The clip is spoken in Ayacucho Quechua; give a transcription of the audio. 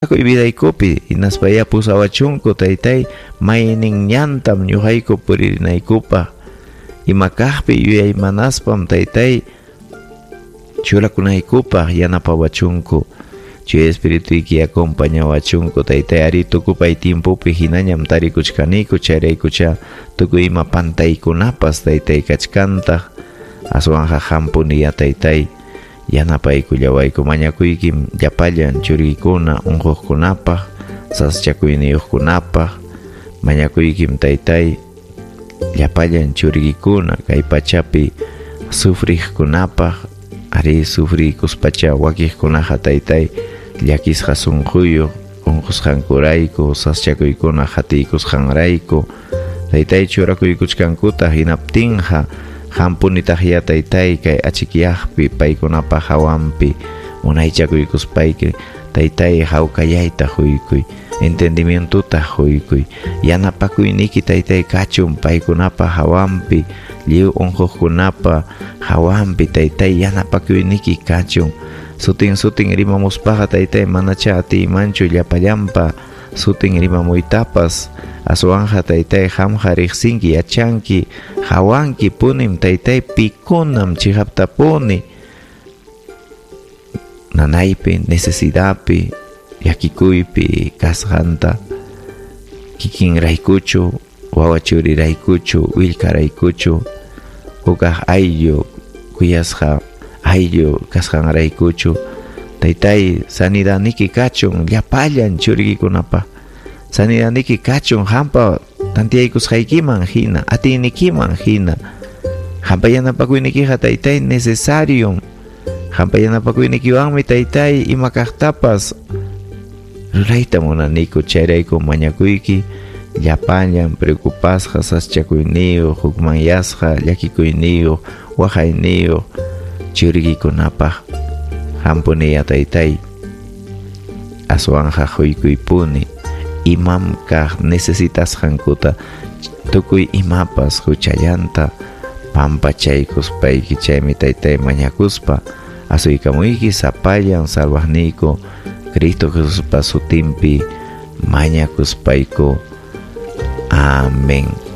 Vidaykupi hinaspayá pusawachunku taytay maynin ñantam ñuqayku puririnaykupaq ima kaqpi yuyaymanaspam taytay churakunaykupaq yanapawachunku Chuya Espirituyki acompañawachunku taytay ari tukupay tiempopi hinañam tarikuchkaniku chayraykucha tukuy ima pantaykunapas taytay kachkantaq aswanqa hampuniya taytay yanapaykullawayku mañakuykim llapallan churiykuna unquqkunapaq sasachakuyniyuqkunapaq mañakuykim taytay llapallan churiykuna kay pachapi sufriqkunapaq ari sufriykuspacha wakiqkunaqa taytay llakisqa sunquyuq unqusqankurayku sasachakuykuna qatiykusqanrayku taytay churakuykuchkankuta hinaptinqa hampunitaqya taytay kay achikyaqpi paykunapaq hawanpi munaychakuykuspayki taytay hawkayayta huykuy entendimientota huykuy yanapakuyniki taytay kachun paykunapaq hawanpi lliw unquqkunapa hawanpi taytay yanapakuyniki kachun sutin sutin rimamuspaqa taytay manacha atiymanchu llapallanpa sutin rimamuytapas aswanja taytay qamqa riqsinki yachanki hawanki punim taytay pikunam chiqaptapuni nanaypi necesidadpi llakikuypi kasqanta kikinraykuchu wawa churiraykuchu willkaraykuchu hukaq ayllu kuyasqa ayllu kasqanraykuchu taytay sanidaniki kachun llapallan churiykikunapaq sanidaniki kachun hampa tantiyaykusqaykiman hina atiynikiman hina hampa yanapakuynikiqa taytay necesario hampa yanapakuynikiwanmi taytay ima kaqtapas rurayta munaniku chayrayku mañakuyki llapallan preocupasqa sasachakuyniyuq hukmanyasqa llakikuyniyuq waqayniyuq churiykikunapaq hampuniya taytay aswanja huykuypuni imam kaq necesitasqankuta tukuy imapas huchallanta pampachaykuspayki chaymi taytay mañakuspa asuykamuyki sapallan salvaqniyku Cristo Jesuspa sutinpi mañakuspayku. Amén.